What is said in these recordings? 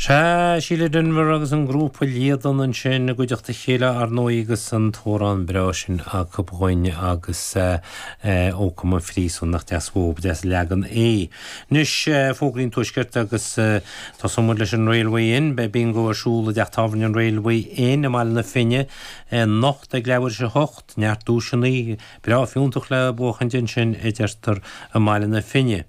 Sea, Síle Denvir agus an grúpa Líadan ansin i gcuideachta a chéile ar ndóigh agus an t-amhrán breá sin acu dhúinn agus Ó Come an Phríosúin nach deas uathu, ba deas an leagan é. Anois, fógraí an Tuaiscirt agus tosóidh muid leis an Railway Inn. Beidh bingo ar siúl i dteach tábhairne an Railway Inn i mBaile na Finne anocht ag leathuair tar éis a hocht. Neart duaiseanna breá fiúntach le buachaint ansin a deirtear i mBaile na Finne.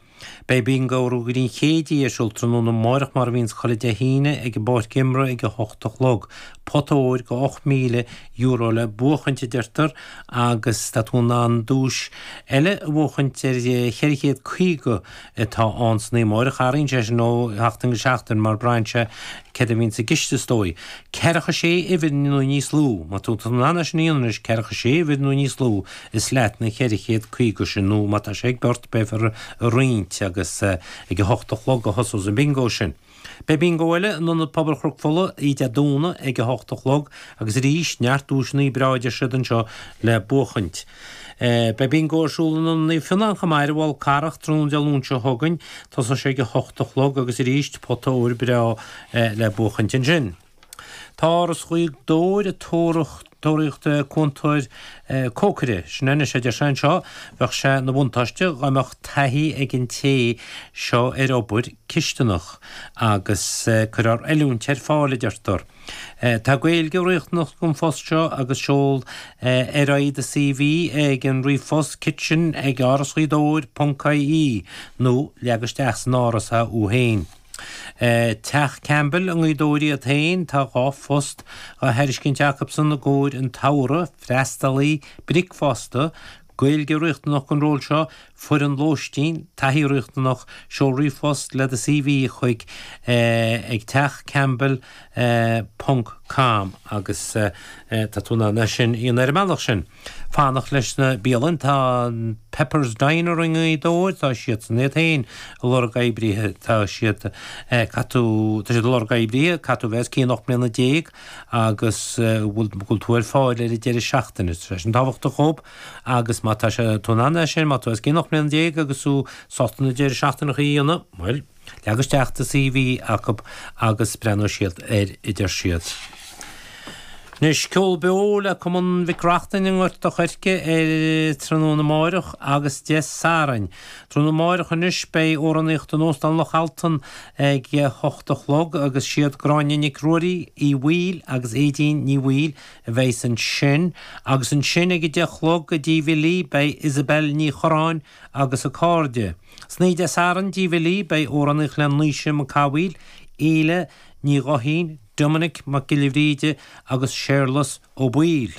Beidh Bingo Ruagairí an Chéidí ar siúl tráthnóna amáireach mar a bhíonns chuile Dé hAoine ag an bpáirc imeartha ag 8 a chlog. Pota óir go €8,000 le buachaint a deirtear agus tá tú in ann duais eile a bhuachaint ar 450 atá ann san oíche amáireach. Athraíonn sé sin ó sheachtain go seachtain mar braitheann sé céard a bhíonn sa gciste is dóigh. Ceathracha sé uimhir nó níos lú, má tá tú in ann é sin a dhéanamh anois, ceathracha sé uimhir nó níos lú, is leat na 450 sin nó má tá sé ag beirt beifear á roinnt agus ag a hocht a chlog a thosós an bingo sin. Beidh bingo eile in Ionad Pobail Chnoc Fola oíche Dé Domhnaigh ag a hocht a chlog agus arís neart duaiseanna breá a deir siad anseo le buachaint. Beidh bingo ar siúl in Ionad Naomh Fionnán chomh maith ar an bhFál Carrach tráthnóna Dé Luain seo chugainn. Tosóidh sé ag a hocht a chlog agus arís pota óir breá le buachaint ansin. Tá Áras Ghaoth Dobhair ag tóraíocht cúntóir cócaire. Sin anois, a deir sé anseo, bheadh sé ina bhuntáiste dá mbeadh taithí ag an té seo ar obair cisteanach agus cuirfear oiliúint ar fáil, a deirtear. Tá Gaeilge riachtanach don phost seo agus seol ar aghaidh do CV ag an ríomhphost kitchen ag árasghaothdobhair ponc ie nó leag isteach san Áras é thú féin. Teach Campbell i nGaoth Dobhair iad féin, tá 2 phost á thairiscint acusan i gcomhair an tsamhraidh, freastalaí bricfeasta, Gaeilge riachtanach don ról seo, foireann lóistín, taithí riachtanach, seol ríomhphost le do CV chuig ag teachcampbell ponc com agus tá tú in ann é sin a dhéanamh ar an mbealach sin. Fanacht leis na bialann, tá an Pepper's Diner i nGaoth Dobhair, tá siadsan iad féin ag lorg oibrithe, tá siad, caithfidh tú, tá siad ag lorg oibrithe, caithfidh tú a bheith os cionn 18 mbliana agus bhfuil, go bhfuil tú ar fáil ar an deireadh seachtaine, tá sé sin tábhachtach dhób agus má tá sé, tú in ann é sin, má tá tú os cionn 18 mbliana agus tú sásta na deireadh seachtaineacha a dhéanamh, bhuel, leag isteach do CV acu agus breathnóidh siad air, a deir siad. Anois, ceol beo le Cumann Mhic Reachtain i nGort a' Choirce ar tráthnóna amáireach agus Dé Sathairn. Tráthnóna amáireach anois beidh amhránaíocht in Óstán Loch Altan ag a hocht a chlog agus siad Gráinne Nic Ruairí Uí Bhaoill agus Aedín Ní Bhaoill a bheas ansin agus ansin ag a 10 a chlog i dTigh Bhilí beidh Isabel Ní Chorráin agus a cairde. San oíche Dé Sathairn i dTigh Bhilí beidh amhránaíocht le Naoise Mac Cathmhaoil, Éile Ní Ghuithín, Dominic Mac Giolla Bhríde agus Séarlas Ó Baoill.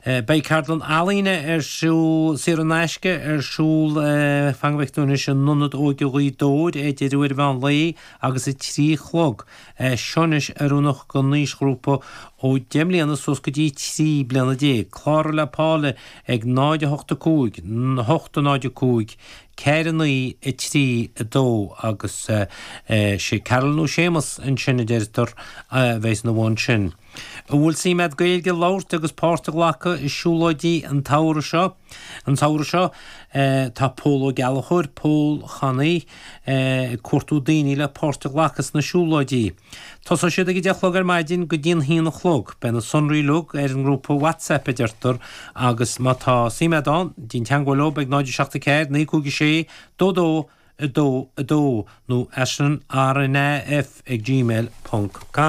Beidh ceardlann ealaíne ar siúl, saor in aisce, ar siúl, fan go bhfeicfidh tú anois, in Ionad Óige Ghaoth Dobhair idir uair an mheán lae agus a 3 a chlog. Seo anois oiriúnach don aoisghrúpa ó 10 mbliana suas go dtí 13 bliana. Cláraigh le Paula ag 0 8 5 8 0 5 4 9 3 2 agus sé Carol nó Séamus ansin a deirtear a bheas ina bhun sin. An bhfuil suim agat Gaeilge a labhairt agus páirt a ghlacadh i siúlóidí an tsamhraidh seo? An samhradh seo tá Pól Ó Gallchóir, Pól Channaí, ag cuartú daoine le páirt a ghlacadh sna siúlóidí. Tosóidh siad ag a 10 a chlog ar maidin go dtí an haon a chlog. Beidh na sonraí uilig ar an ngrúpa WhatsApp a deirtear agus má tá suim agat ann, déan teagmháil leo ag 0 7 4 9 5 6 2 2 2 2 nó aislinrnaf ag gmail ponc com.